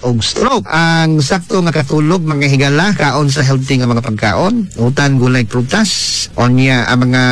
og stroke. Ang sakto nga katulog, mga higala, kaon sa healthy nga mga pagkaon, utan, gulay, prutas, onya ang mga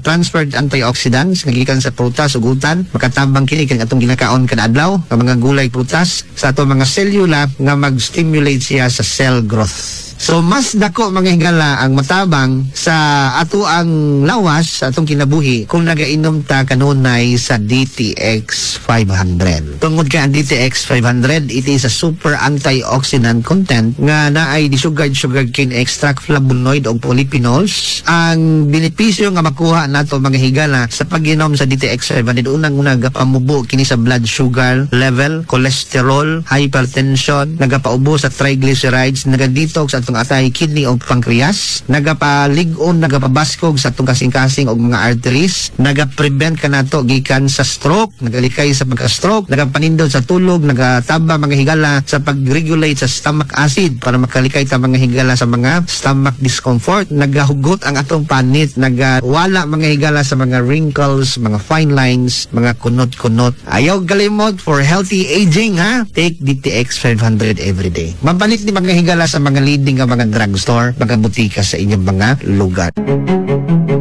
transferred antioxidants nga gikan sa prutas ug utan, makatabang kini kay atong ginakaon kada adlaw ang mga gulay, prutas sa atong mga selula nga mag-stimulate siya sa cell growth. So mas dako, mga higala, ang matabang sa ato ang lawas, sa atong kinabuhi, kung nagainom ta kanunay sa DTX 500. Tungod kay ang DTX 500, it is a super antioxidant content nga naay desugared sugarcane extract, flavonoid og polyphenols. Ang benepisyo nga makuha nato, mga higala, sa pag-inom sa DTX 500, unang-una, gapamubo kini sa blood sugar level, cholesterol, hypertension, nagapaubo sa triglycerides, nagadetox sa atong atay, kidney o pancreas, nagapalig-on, nagapabaskog sa atong kasing-kasing og mga arteries, nagaprevent kanato gikan sa stroke, nagalikay sa pagka-stroke, nagapanindot sa tulog, nagatabang, mga higala, sa pag-regulate sa stomach acid para makalikay ta, mga higala, sa mga stomach discomfort, nagahugot ang atong panit, nagawala, mga higala, sa mga wrinkles, mga fine lines, mga kunot-kunot. Ayaw kalimot, for healthy aging ha, take DTX 500 every day. Mapalit ni, mga higala, sa mga leading nga mga drugstore, mga butika sa inyong mga lugar.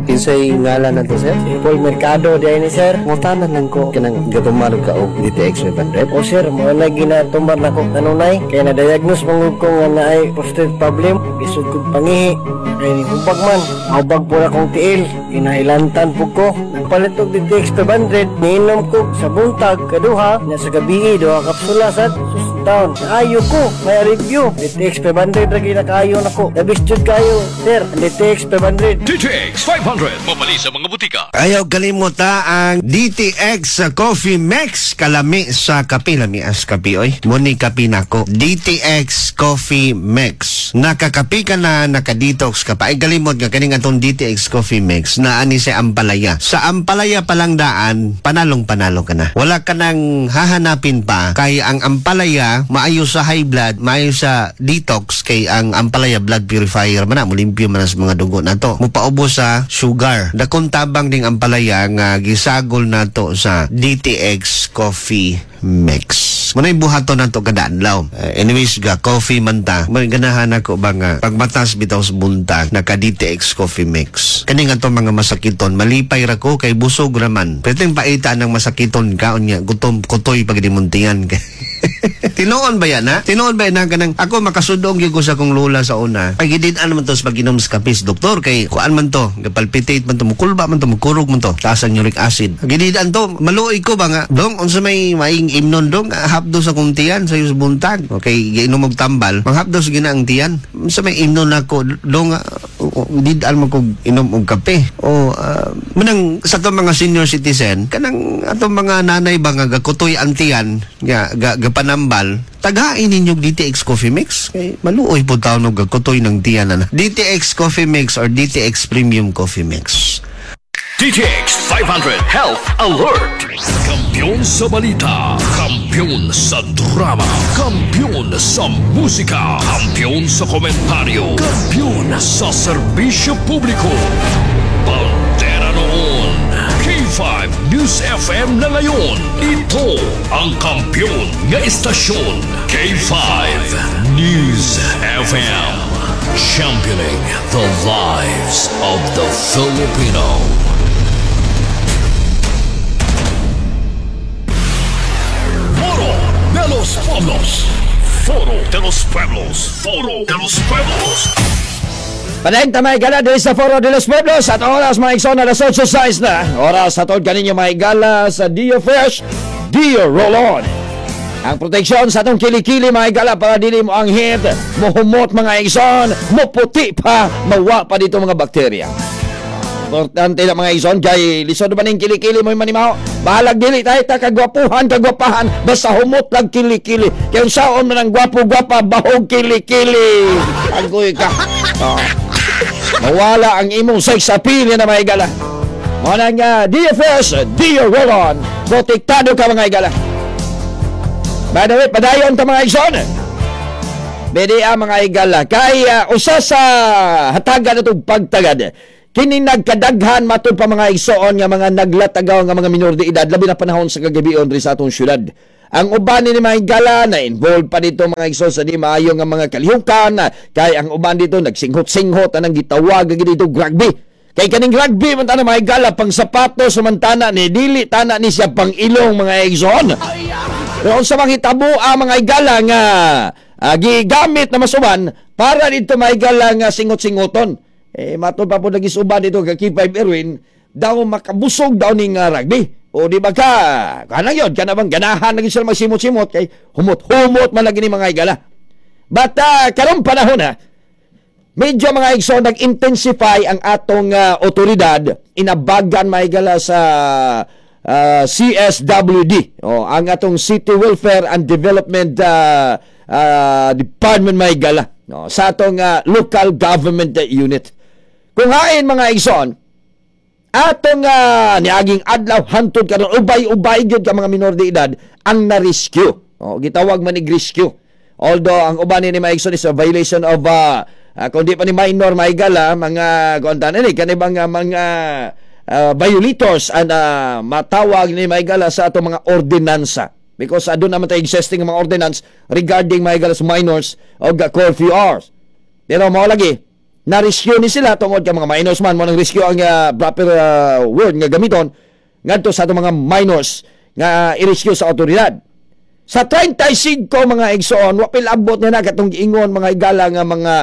Kinsay ngalan nato, sir? Si Paul Mercado diay ni, sir. Ngutana lang ko, kanang gatumar ka og DTX 500? O sir, mao na ginatumar nako kanunay kay na-diagnose man gud ko nga naay prostate problem. Lisod kog pangihi. Kay hubag man, hubag po na kong tiil. Kinailantan po ko. Nagpalit og DTX 500, niinom ko sa buntag kaduha, na sa gabi duha kapsula sad. Sus taon, ayo ko, may review. DTX 500 ra ginakaayo nako. Labis jud kayo, sir. Ang DTX 500. DTX 500. Mabali sa mga butika. Ayaw kalimot ha, ang DTX Coffee Mix. Kalami sa kape. Lami as kape, oy. Muni kape nako. DTX Coffee Mix. Nakakape ka na, nakadetox ka pa. Ay kalimot nga kaning atong DTX Coffee Mix na ani sa ampalaya. Sa ampalaya pa lang daan, panalong panalo ka na. Wala ka nang hahanapin pa kay ang ampalaya maayo sa high blood, maayo sa detox kay ang ampalaya blood purifier man na, mulimpyo man na sa mga dugo nato. Mupaubos sa sugar. Dakong tabang ding ampalaya nga gisagol nato sa DTX Coffee Mix. Muna'y buhaton nato kada adlaw. Anyways, ga coffee man ta. May ganahan ako ba nga pagmatas bitaw sa buntag naka DTX Coffee Mix. Kani nga to mga masakiton, malipay ra ko kay busog raman. Pwedeng paita ng masakiton ka unya gutom kutoy pag dimuntingan ka. Tinuon ba yan, ha? Tinuon ba yan na kanang ako makasudong gyud ko sa akong lola sa una? Ay gidid-an man to sa pag-inom sa kapis, doktor, kay kuan man to, gapalpitate man to, mukulba man to, mukurog man to, taas ang uric acid. Gidid-an to, maluoy ko ba nga, dong, unsa may maing imnon dong, hapdos sa kong tiyan sa sa buntag. Okay, giinom og tambal, manghapdos gina ang tiyan. Unsa may imnon nako, dong, did-an man kog inom og kape. O manang sa atong mga senior citizen, kanang atong mga nanay ba nga gakutoy ang tiyan, nga gapanambal, tagain ninyo og DTX Coffee Mix kay maluoy po taon og gakutoy ng tiyan na. DTX Coffee Mix or DTX Premium Coffee Mix. DTX 500 Health Alert. Kampiyon sa balita. Kampiyon sa drama. Kampiyon sa musika. Kampiyon sa komentaryo. Kampiyon sa serbisyo publiko. Bandera noon. K5 News FM na ngayon. Ito ang kampiyon nga istasyon. K5 News FM. Championing the lives of the Filipino. Foro de los Pueblos. Foro de los Pueblos. Foro de los Pueblos. Padayon ta, mga higala, diri sa Foro de los Pueblos at oras, mga igsoon, alas 8:06 na. Oras sa tod kaninyo, mga higala, sa Dio Fresh, Dio Roll-On. Ang proteksyon sa atong kilikili, mga higala, para dili mo ang hit, mohumot, mga igsoon, moputi pa, mawa pa dito mga bakterya. Importante na, mga igsoon, kay lisod ba ning kilikili mo manimaho. Bahalag dili tayo ta kagwapuhan, kagwapahan, basta humot lang kilikili. Kay unsaon man ang gwapo-gwapa, bahog kilikili. Agoy ka. Oh. Mawala ang imong sex appeal na, mga higala. Mao na nga DFS, Dio Roll-On. Protektado ka, mga higala. By the way, padayon ta, mga igsoon. BDA, mga higala. Kay usa sa hatagan atong pagtagad. Kini nagkadaghan matud pa, mga igsoon, nga mga naglatagaw nga mga minor de edad labi na panahon sa kagabion diri sa atong syudad. Ang uban ni mga higala na involved pa dito, mga igsoon, sa di maayo nga mga kalihukan, kay ang uban dito nagsinghot-singhot anang gitawag dito rugby. Kay kaning rugby man tana, mga higala, pang sapatos man tana ni, dili tana ni siya pang ilong, mga igsoon. Pero unsa mang hitabo ang mga higala nga gigamit na masuban para dito, mga higala, nga singot-singoton. Eh matod pa po nagisuban dito ka K5 Erwin daw, makabusog daw ning rugby. O di ba ka kanang yun kana bang ganahan lagi sila magsimot-simot kay humot-humot man lagi ni, mga higala. But karong panahon na medyo, mga igsoon, nag-intensify ang atong otoridad inabagan, mga higala, sa CSWD o ang atong City Welfare and Development Department, mga higala, no, sa atong local government unit. Kung hain, mga igsoon, atong niaging adlaw hantod karon, ubay-ubay gyud ka mga minor de edad ang na-rescue. O, gitawag man ig rescue. Although ang uban ni, mga igsoon, is a violation of kung di pa ni minor, mga higala, mga kuan ni kanibang mga violators and matawag ni, mga higala, sa atong mga ordinansa. Because aduna naman tayo existing mga ordinance regarding, mga higala, sa minors o curfew hours. Pero mao lagi, na-rescue ni sila tungod kay mga minors man mo nang rescue ang proper word nga gamiton ngadto sa atong mga minors nga i-rescue sa otoridad. Sa 35, mga igsoon, wa pilabot na na katong giingon, mga higala, nga mga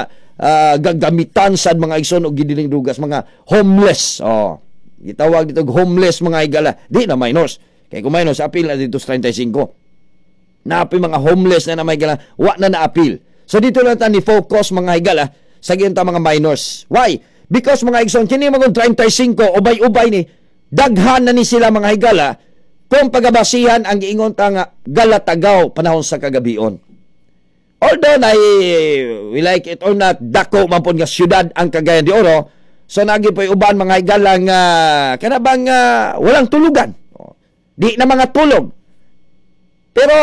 gagamitan sad, mga igsoon, og gidiling drugas, mga homeless. Oh, gitawag dito og homeless, mga higala. Di na minors. Kay kung minors, apil na dito sa 35. Naapi mga homeless na na may higala, wa na na-appeal. So dito lang ta ni focus, mga higala, sa ginta mga minors. Why? Because, mga igsoon, kini mga 35, ubay-ubay ni, daghan na ni sila, mga higala, kung pagabasihan ang giingon ta nga galatagaw panahon sa kagabion. Although na we like it or not, dako man pud nga syudad ang Cagayan de Oro, so nagi po'y uban, mga higala, nga kana bang walang tulugan. Di na mga tulog. Pero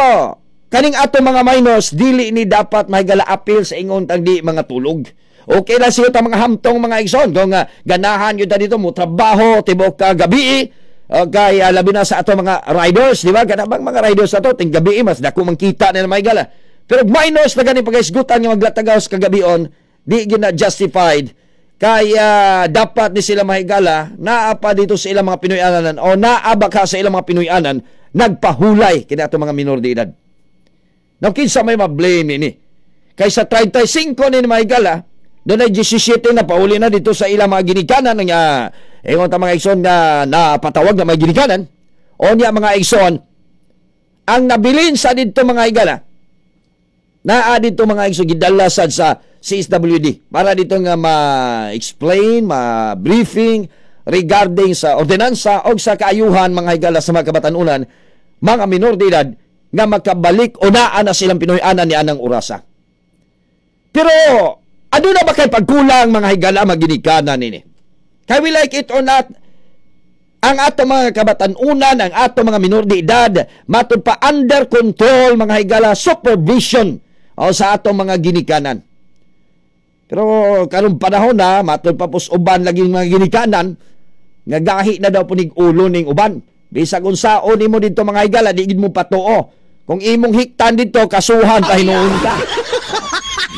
kaning ato mga minors, dili ni dapat, mahigala, appeal sa ingon tang di mga tulog. Okay lang siya ta mga hamtong, mga igsoon, kung ganahan yun ta dito mo trabaho tibok ka gabi. Okay, labi na sa ato mga riders, di ba? Kana bang mga riders ato ting gabi mas dako man kita nila, mga higala. Pero minors na gani pagaisgutan nga maglatagaw sa kagabion, di gina justified kaya dapat ni sila, mahigala, naa pa dito sa ilang mga Pinoy-anan o naa ba ka sa ilang mga Pinoy-anan nagpahulay kini ato mga minor de edad. Now, kinsa may ma-blame ini? Kay sa 35 ni, mga higala, doon ay 17 na pauli na dito sa ilang mga ginikanan nga ingon ta, mga igsoon, nga napatawag na mga ginikanan. O niya, mga igsoon, ang nabilin sa dito, mga higala, naa dito, mga igsoon, gidala sad sa CSWD para dito nga ma-explain, ma-briefing regarding sa ordinansa o sa kaayuhan, mga higala, sa mga kabatanunan, mga minor de edad nga makabalik o naa na silang Pinoy-anan ni anang orasa. Pero ano na ba kay pagkulang, mga higala, maginikanan nini? Kay we like it or not, ang ato mga kabatanunan, ang ato mga minor de edad, matud pa under control, mga higala, supervision o sa ato mga ginikanan. Pero karong panahon na, matud pa pus uban lagi mga ginikanan, nga gahi na daw punig ulo ning uban. Bisag unsaon nimo dito, mga higala, di gid mo patuo. Kung imong hiktan dito, kasuhan pa hinuon ka.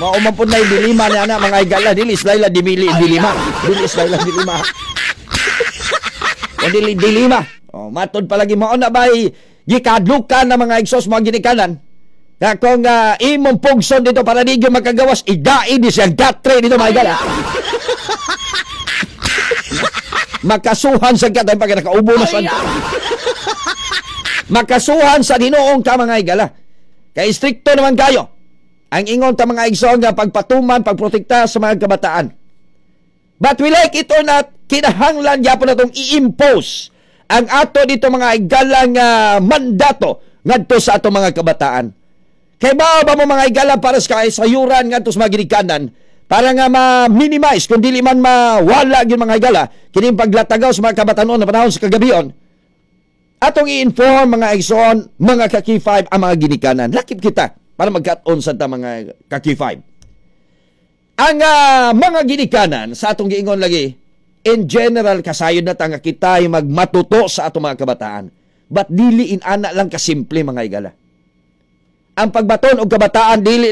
Mao man pud na dilima ni ana, mga higala, dili sila dimili dilima. Dili sila dilima. O dili dilima. O matod palagi mao na bay gikadlukan na, mga igsoon, mga ginikanan. Kaya kung imong pugson dito para di gyud makagawas, idai di siya gatre dito, mga higala. Makasuhan sa gatay pag nakaubo na sa makasuhan sa Ginoong ka, mga higala. Kay strikto naman kayo. Ang ingon ta, mga igsoon, nga pagpatuman, pagprotekta sa mga kabataan. But we like it or not, kinahanglan gyapon natong i-impose ang ato dito, mga higala, nga mandato ngadto sa ato mga kabataan. Kay ba ba mo, mga higala, para sa kaisayuran ngadto sa mga ginikanan para nga ma-minimize kung dili man mawala gyud, mga higala, kini paglatagaw sa mga kabatanon na panahon sa kagabion, atong i-inform, mga igsoon, mga ka-K5, ang mga ginikanan. Lakip kita para magkat-on sa ta, mga ka-K5. Ang mga ginikanan sa atong giingon lagi, in general, kasayod na ta nga kita ay magmatuto sa atong mga kabataan. But dili in ana lang kasimple, mga higala. Ang pagbaton og kabataan dili